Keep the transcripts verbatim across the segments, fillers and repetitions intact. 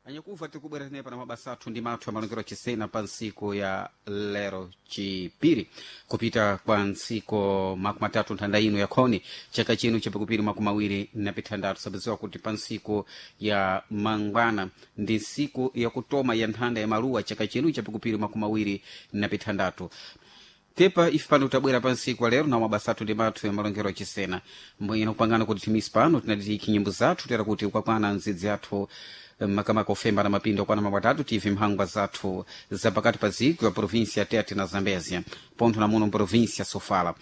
Anyakuva, tikubwera tine pana mabasa athu ndi mathu amalongero achisena pa ntsiku ya lero chipiri, kupita kwa ntsiku makumi atatu nthanda ino yakhoni chaka chino chapakupiri makumi awiri na pithandatu. Sabaziwa kuti pa ntsiku ya mangwana ndi ntsiku yakutoma ya nthanda ya maluwa chaka chino chapakupiri makumi awiri na pithandatu. Tepa ife pano tabwera pa ntsiku lero na mabasa athu ndi mathu ya malongero achisena mbwino kupangana kuti timisi pano tinatitiki nyimbo zathu tera kuti ukakwana nzidzi athu makamaka ofemba na mapindo kwana mapatatu tive mphangwa zathu zapakati pa dziko ya província ya Tete na Zambézia, pontho na muno província Sofala.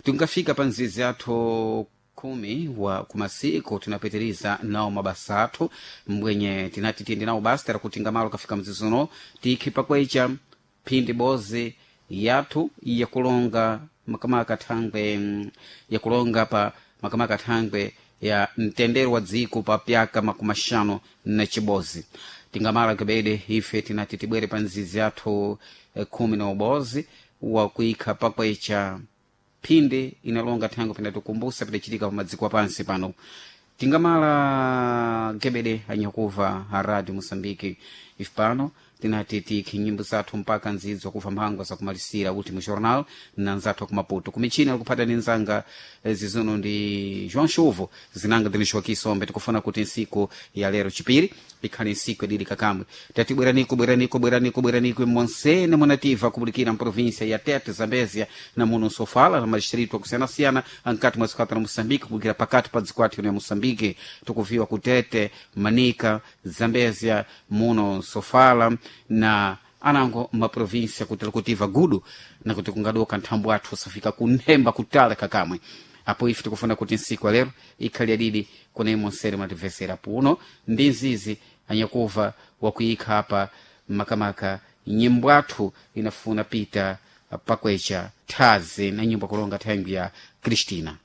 Tingafika pa nzizi athu khumi wa kumasiku tinapitiriza nawo mabasa athu mbwenye tinati tiyende nawo basi tera kuti ngamalo kafika mzizi uno tikhi pakwecha phindi bozi yathu yakulonga makamaka thangwe mm, yakulonga pa makamaka thangwe ya mtendere wa dziko pa pyaka makumi axanu na chibozi. Tingamala kebede ife tinati tibwere pa nzizi yathu eh, khumi na ubozi wakuikha pakwecha phindi inalonga thangwe pinatikumbusa pidachitika pa madziko apansi pano. Tingamala gebede anyakuva a Radio Moçambique, ife pano tinati tikhi nyimbo zathu mpaka nzidzo kuva mphangwa zakumalisira Último Jornal na nzathu akumaputo kumichina alikuphata ni nzanga eh, zizuno ndi João Chuvo zinanga ndinixokisombe. Tikufuna kuti nsiku ya lero chipiri ikhale nsiku yadidi kakamwe. Tati bweraniko, bweraniko, bweraniko, bweraniko monsene munativa kubulikira mprovíncia ya Tete, Zambézia na muno Sofala na madistrito akusiyanasiyana ankati mwa dziko la Moçambique, kubulikira pakati pa dziko athu ya Moçambique. Tikuviwa kutete, Manika, Zambézia, muno Sofala na anango maprovíncia kuti likutiva gudu na kuti kungadoka nthambo athu usafika kunhemba kutala kakamwe. Apo ife tikufuna kuti nsiku ya lero ikhale yadidi kuna imonsere mwatimvesera puno ndi nzizi anyakuva wakuikha apa makamaka nyimbo athu inafuna pita pakwecha thazi na nyimbo kulonga thangwi ya Cristina.